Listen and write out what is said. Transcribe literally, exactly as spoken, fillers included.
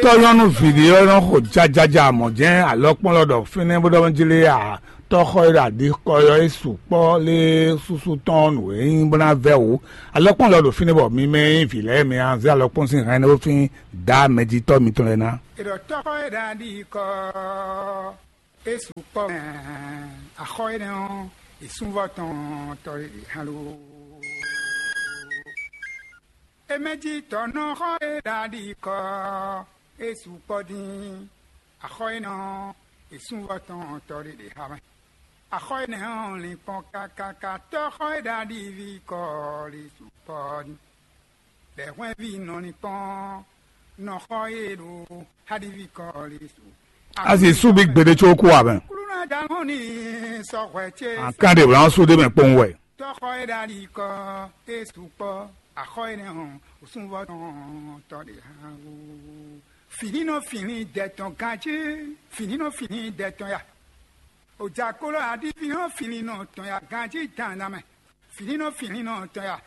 Tɔ́nyɔ́nú vǐɖé ɔ́ nɔ xo jajaja mɔ̌ jɛ́n alɔkpɔ́nlɔ ɖɔ fínɛ́ bó ɖɔ jlé a, tɔ́xɔ e ɖo aɖikɔ ɔ́ é sukpɔ́ lé súsú tɔn nǔ e nyí bó ná vɛ́ wǔ. Alɔkpɔ́nlɔ ɖo fínɛ́ bɔ mi mɛ e nyí vǐ lɛ́ɛ mi a zé alɔkpɔ́n sín hɛn énɛ́ fín dǎ mɛjitɔ́ mitɔn lɛ́ɛ ná. È ɖɔ tɔ́xɔ e ɖo aɖikɔ ɔ́ é sukpɔ́ mɛ, axɔ énɛ́ ɔ́, è sún vɔ́ tɔn tɔ e hɛn lo. Emɛjitɔ́ nɔ xɔ e ɖo aɖikɔ ɔ́, é sukpɔ́ dín. Axɔ énɛ́ ɔ́, è sún vɔ́ tɔn tɔ ɖé ɖě xá mɛ. Axɔ énɛ́ ɔ́, lin kpɔ́n kákáká tɔ́ xɔ e ɖo aɖiví kɔ ɔ́, lin sukpɔ́ dín. Lɛ̌ hwɛ́nví nɔ lin kpɔ́n nɔ xɔ e ɖo aɖiví kɔ ɔ́, lin su. A sì sú bí gbeɖé có kú ǎ mɛ. Kúlúnɔ dalɔn ní sɔ́ hwɛ ce. An kán ɖe wlán sú ɖé mɛ kpowun wɛ. Tɔ́xɔ e ɖo ali kɔ é sukpɔ́, axɔ énɛ́ hɔn, wosúnvɔ tɔn tɔ ɖe hán wú. Fǐnínɔ fǐnlín dɛ tɔn ganjí, fǐnínɔ fǐnlín dɛ tɔn ya. Ojakolo aɖífínɔ fǐnlínnɔ tɔn ya ganjí dandan mɛ. Fǐnínɔ fǐnlínnɔ tɔn ya.